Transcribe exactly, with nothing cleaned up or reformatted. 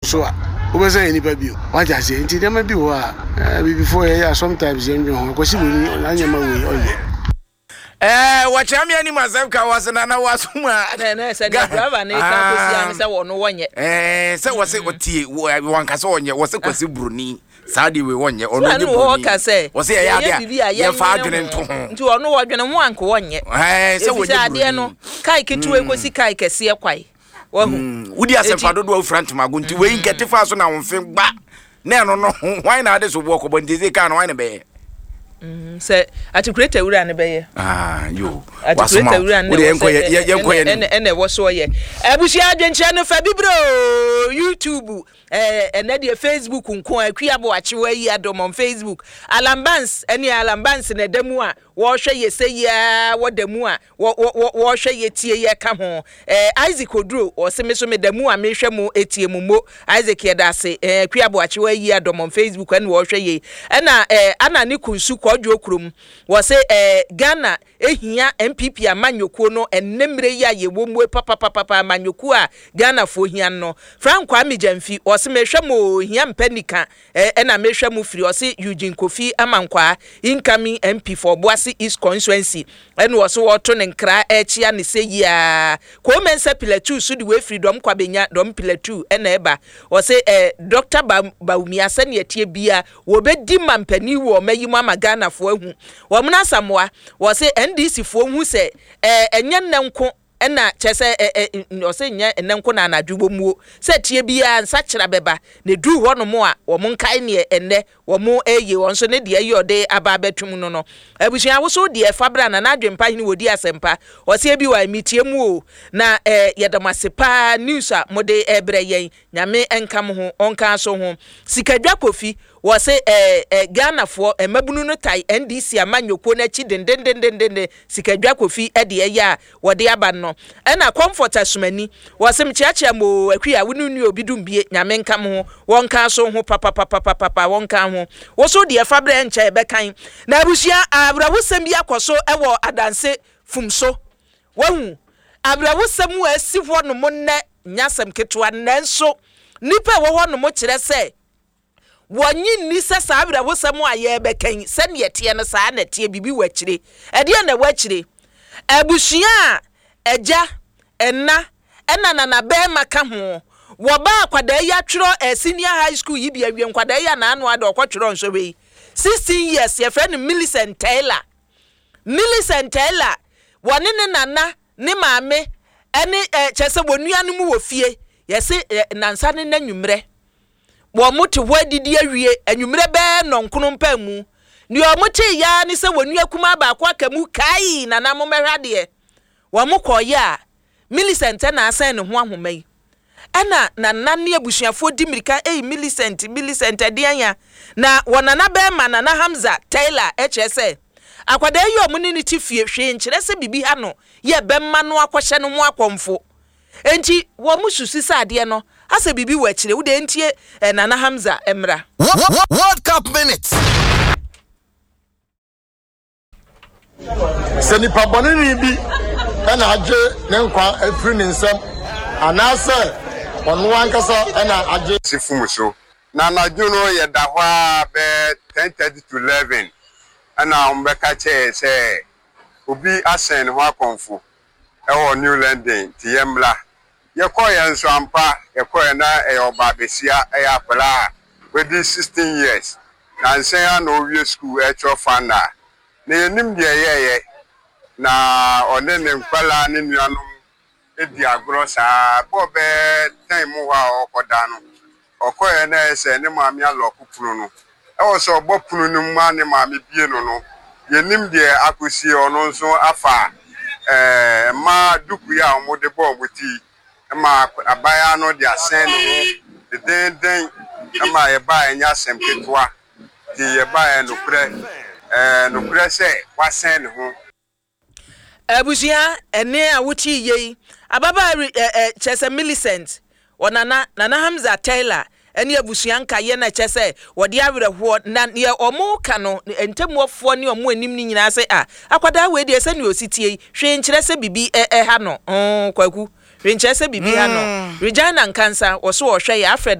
So a wobɛsɛ yɛ nipa bio, wagye aseɛ. Nti nneɛma bi wɔ a bibifoɔ yɛyɛ a, sometimes yɛndwen ho. Akwasi Buroni anyɛma wei ɔnyɛ. Ɛɛ, wɔkyerɛ me anim asɛm ka wɔ se nana wasom a. Na na sɛ ne driver ne ka kɔsi ano sɛ wɔno wɔnyɛ. Ɛɛ, sɛ wɔ se ɔtie wɔnka sɛ ɔnyɛ, wɔ se Kwasi Buroni saa deɛ wei wɔnyɛ, ɔno sɛ nyɛ no buroni. Wɔka sɛ wɔ se yɛyɛ yɛyɛ adeɛ biribi a a yɛmfa yɛnwene adwene ho. Nto ho. Nti ɔno wɔdwene ho anka wɔnyɛ. Ɛɛ, sɛ ɛfiri sɛ wɔnyɛ adeɛ no buroni. kae ketewa kɔsi kae kɛseɛ kwae wahu. Wodi asɛmfa Enti- dodoɔ a wofira ntomago, nti wei nkɛte fa so na wo mfe gba na ɛno no hwan na ade so boɔ kɔbɔ? Nti sɛ kaa no hwan na bɛyɛ? Sɛ atikuleta wura ne bɛyɛ. Ah, yo. Atikuleta Wasoma wura ne wode ɛwɔ yɛnkɔ sɛ- yɛ- yɛnkɔ yɛ ɛna nim. Ɛna ɛwɔ so ɔyɛ abusua adwenkyerɛ no fa bibire o YouTube, ɛɛ ɛnɛ deɛ Facebook nko a Akua Aboakyewa yi adɔm on Facebook. Alambans ɛne Alambans na ɛda mu a wɔrehwɛ yɛ sɛ yia wɔda mu a wɔ wɔ wɔ wɔrehwɛ yɛ tie yɛ ka ho. ɛɛ Isaac Oduro ɔsɛ me so meda mu a mehwɛ mu etie mu mo. Isaac, yɛda ase. ɛɛ Akua Aboakyewa yi adɔm on Facebook ɛna wɔrehwɛ yɛ. Ɛna ɛɛ ana ne kunsu kɔdwo kurom wɔsɛ ɛɛ Ghana ehia N P P amanyɔkuo no ɛnɛ mmerɛ yi a yɛwɔ mu papapapa, amanyɔkuo a Ghanafoɔ hia no. Frank Kwame Gyamfi ɔsɛ mehwɛ mo hia mpɛ nika ɛɛ ɛna mehwɛ mo firi. Ɔsɛ Eugene Kofi Amankwaa, incoming M P for Obuasi East constituency, ɛna ɔsɛ wɔto ne nkra ɛkyia ne sɛ yia kɔɔmɛnsa pilatu so de wɔafiri dɔm kwabenya dɔm pilatu ɛna ɛba. Ɔsɛ ɛɛ Doctor ba Bawumia, sɛnea tie bia wɔbɛdi mampanin wɔ ɔma yi mu ama Ghanafoɔ ahu wɔn. Asamoa wɔsɛ N D C foɔ hu sɛ ɛɛ ɛnyɛ nnɛ nko ɛna kyerɛ sɛ ɛ ɛ ɔsɛ nyɛ ɛnɛ nko na anadwo wɔ muo sɛ tie biara nsakyera bɛba na eduru hɔnom a wɔn nkae neɛ ɛnɛ wɔn ɛyɛ wɔn nso ne deɛ ɛyɛ ɔde aba abɛtum no no Abusua ahosuo deɛ ɛfa bra na n'adwempa hene wɔdi asɛmpa. Ɔsɛ bi wɔ emitie mu o na ɛɛ yɛda mo ase paa, news a mode ɛbrɛ yɛn, Nyame nka mo ho, ɔnka so ho. Sikadwa Kofi wɔsɛ ɛɛ ɛ Ghanafoɔ mmabunu no tae N D C amanyɔkuo n'akyi dendendendenden. Sikadwa Kofi ɛde ɛyɛ a wɔde aba no. Ɛna Comfort Asomani wɔsɛ mkyeakyea mo akui a wone nua obi dum bie, Nyame nka mo ho, wɔnka so ho papapapapapa, wɔnka ho. Woso deɛ fa berɛ nkyɛ ɛbɛkan na abusua awerɛhosɛm bi akɔ so ɛwɔ adanse fum so. Wahu awerɛhosɛm a asi hɔ nom nnɛ nyasɛm ketewa, nanso nnipa a ɛwɔ hɔ nom kyerɛ sɛ wɔnye nni sɛ saa awerɛhosɛm a yɛrebɛkan sɛneɛ teɛ no saa na ɛteɛ. Biribi wɔ akyire. Ɛdeɛ na ɛwɔ akyire? Abusua a agya, ɛna, ɛna nana bɛrima ka ho wɔba akwadaa yi atwerɛ ɛ senior high school yi bi awie. Nkwadaa yi anaano ada ɔkɔtwerɛ nsɔhwɛ yi, sixteen years, yɛfrɛ no Millicent Taylor. Millicent Taylor wɔne ne nana ne maame ɛne ɛ kyerɛ sɛ wɔn nuanom wɔ fie. Yɛse ɛ nansa ne n'anwummerɛ wɔn mo te hɔ adidi awie, anwummerɛ bɛɛ nɔnkono mpa mu, nea wɔn te yaa ne sɛ wɔn nua kumaa baako aka mu kai, "Nana, mo mɛhwɛ adeɛ." Wɔn mo kɔɔyɛ a Millicent na asɛn ne ho ahoma yi, ɛna nana ne abusuafoɔ di mirika, "Ei, Millicent, Millicent, ɛdeɛn ya?" Na wɔ nana bɛrima, Nana Hamza Taylor, ɛkyerɛ sɛ akwadaa yi a ɔmo ne ne ti fie hwee nkyerɛ sɛ biribi ha no yɛ bɛma no akɔhyɛ no ho akɔmfo. Enti wɔn mo susu sɛ adeɛ no asɛ biribi wɔ akyire. Wode ntie eh, Nana Hamza mmra. World Cup Minutes. Sɛ nipa bɔneni bi ɛna agye ne nkwa afiri ne nsam anaasɛ ɔno ankasa ɛna agye. Si fum so na anadwo no yɛda hɔ a bɛɛ ten thirty to eleven ɛna wɔn bɛka kyerɛ sɛ obi asɛn ne ho akɔnfo ɛwɔ New London, nti yɛn mmla. Yɛkɔɔ yɛn nso ampa, yɛkɔɔ yɛn na ɛyɛ ɔbaa besia, ɛyɛ akwadaa a wadi sixteen years na nsɛn a na ɔwie school ɛtwerɛ final na yɛnim deɛ ɛyɛɛyɛ na ɔne ne nkwalaa ne nuanom edi agorɔ saa bɔɔ bɛɛ ten mu hɔ a ɔkɔda no. Ɔkɔɛ na ɛyɛ sɛ ne maame alock pono no, ɛwɔ sɛ ɔbɔ pono no mu a ne maame bie no no yɛnim deɛ akɔsie. Ɔno nso afa ɛɛ mmaa duku yi a wɔde bɔ wɔn ti ma abaayewa no de asɛn ne ho dedenden ma yɛbaa. Ɛnyɛ asɛm ketewa, nti yɛbaa nokorɛ ɛɛ nokorɛ sɛ wasɛn ne ho. Abusua, ɛne a wotie yie yi, ababaa ɛ ɛ kyerɛ sɛ Millicent ɔnana Nana Hamza Taylor ɛne abusua nkayɛ na kyerɛ sɛ wɔde awerɛhoɔ na deɛ ɔmo ka no ntamuafoɔ ne ɔmo anim no nyinaa sɛ a akwadaa wei deɛ, sɛnea ɔsi tie yi, hwee nkyerɛ sɛ biribi ɛ ɛha no. mm, kwaku hwee nkyerɛ sɛ biribi ha no. Regina Nkansa wɔso wɔhwɛ yɛ Alfred.